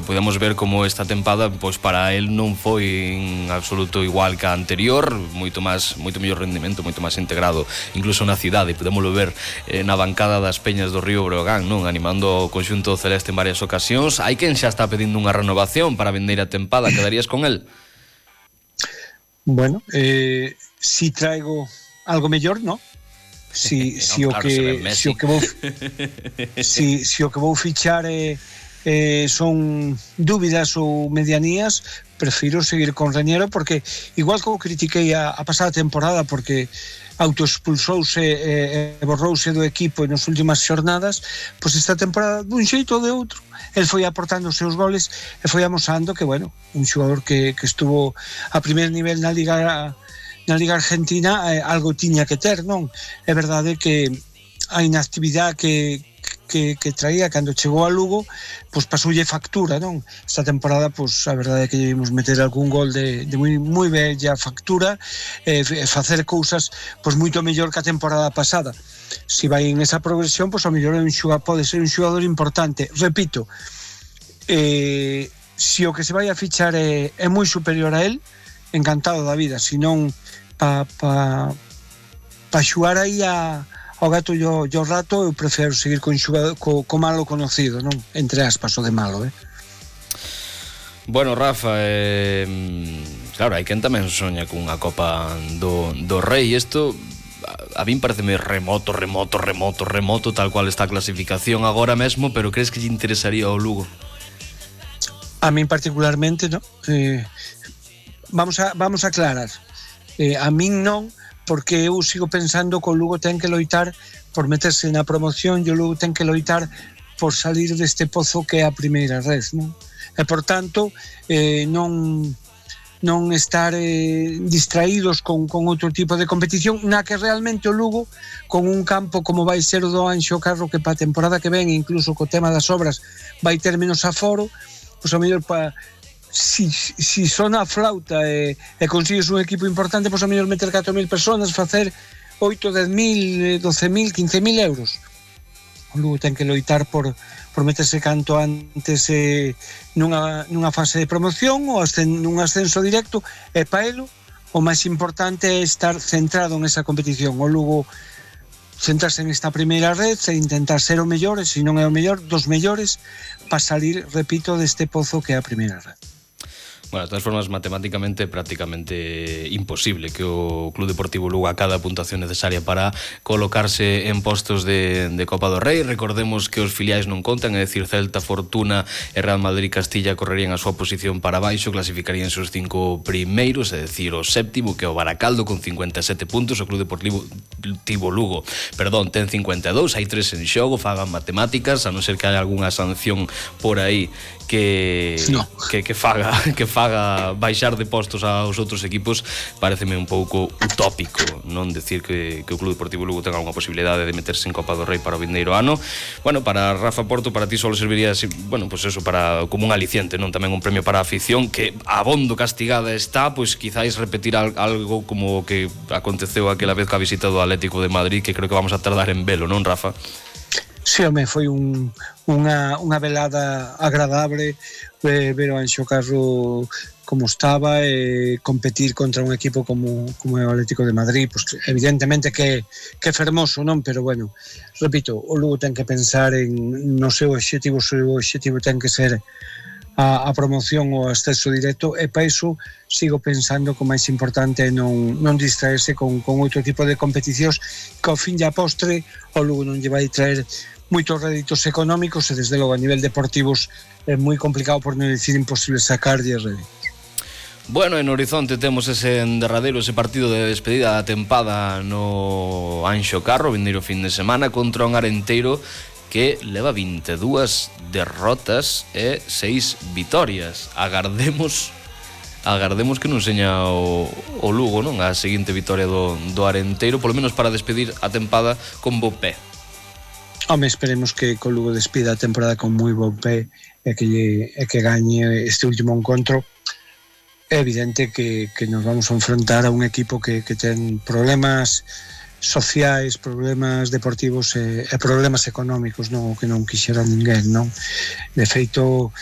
podemos ver como esta tempada pois para el non foi en absoluto igual que a anterior, moito mellor rendimento, moito máis integrado incluso na cidade. Podémoslo ver na bancada das Peñas do Río Breogán, non, animando o conxunto celeste en varias ocasións. Hai quen xa está pedindo unha renovación para a vindeira tempada. Quedarías con el? Bueno, si traigo algo mellor, non? Si o que vou fichar son dúbidas ou medianías, prefiro seguir con Reñero, porque igual como critiquei a pasada temporada porque autoexpulsouse e borrouse do equipo nas últimas xornadas, pois esta temporada dun xeito ou de outro el foi aportando os seus goles e foi amosando que, bueno, un xogador que estuvo a primeiro nivel na Liga Argentina, algo tiña que ter, non? É verdade que a inactividade que traía cando chegou a Lugo, pois pasoulle factura, non? Esta temporada, pois a verdade é que debimos meter algún gol de moi bella factura, facer cousas pois moito mellor que a temporada pasada. Si vai en esa progresión, pois ao mellor pode ser un xogador importante. Repito, si o que se vai a fichar é moi superior a él, encantado da vida, senón pa xugar aí ao gato e ao rato, eu prefiro seguir con malo conocido, non? Entre aspas, o de malo, Bueno, Rafa, claro, hai quen tamén soña cunha Copa do Rei. Isto a min pareceme remoto, tal cual está a clasificación agora mesmo, pero crees que lle interesaría ao Lugo? A min particularmente, non? Vamos a aclarar. A min non, porque eu sigo pensando que o Lugo ten que loitar por meterse na promoción e o Lugo ten que loitar por salir deste pozo que é a primeira red, non? E, por tanto, non estar distraídos con outro tipo de competición na que realmente o Lugo, con un campo como vai ser o do Anxo Carro, que para a temporada que ven, incluso co tema das obras, vai ter menos aforo, pois ao mellor si sona a flauta e consigues un equipo importante, pois a mellor meter 4.000 personas, facer 8, 10.000, 12.000, 15.000 euros. O Lugo ten que loitar por meterse canto antes nunha fase de promoción ou nun ascenso directo, e para elo o máis importante é estar centrado nesa competición. O Lugo centrarse nesta primeira red e intentar ser o mellor, e se non é o mellor, dos mellores, para salir, repito, deste pozo que é a primeira red. Bueno, de todas formas, matemáticamente prácticamente imposible que o Club Deportivo Lugo acade a puntuación necesaria para colocarse en postos de Copa do Rei. Recordemos que os filiais non contan, é dicir, Celta, Fortuna e Real Madrid Castilla correrían a súa posición para baixo, clasificarían os 5 primeiros, é dicir, o séptimo, que é o Baracaldo, con 57 puntos. O Club Deportivo Lugo, ten 52, hai 3 en xogo, fagan matemáticas, a non ser que haya algunha sanción por aí que faga baixar de postos aos outros equipos. Pareceme un pouco utópico non decir que o Club Deportivo Lugo tenga unha posibilidade de meterse en Copa do Rei para o vindeiro ano. Bueno, para Rafa Porto, para ti só serviría, bueno, pues eso, para como un aliciente, non, tamén un premio para a afición, que abondo castigada está, pois quizáis repetir algo como o que aconteceu aquela vez ca visita do Atlético de Madrid, que creo que vamos a tardar en velo, non, Rafa? Sí, home, foi unha velada agradable ver o Anxo Carro como estaba e competir contra un equipo como é o Atlético de Madrid, pues, evidentemente que é fermoso, non? Pero bueno, repito, o Lugo ten que pensar no seu obxectivo, o seu obxectivo ten que ser a promoción ou o ascenso directo, e para iso sigo pensando que o máis importante é non distraerse con outro tipo de competicións que ao fin e a postre o Lugo non lle vai traer moitos réditos económicos, e desde logo a nivel deportivos é moi complicado, por non dicir imposible, sacarlle réditos. Bueno, en horizonte temos ese derradeiro, ese partido de despedida da tempada no Anxo Carro, vindeiro fin de semana, contra un Arenteiro que leva 22 derrotas e 6 vitorias. Agardemos que non seña o Lugo, non? A seguinte vitoria do Arenteiro, polo menos para despedir a tempada con bo pé. Home, esperemos que o Lugo despida a temporada con moi bo pé e que gañe este último encontro. É evidente que nos vamos a enfrentar a un equipo que ten problemas sociais, problemas deportivos e problemas económicos, non? O que non quixera ninguén, non? De feito,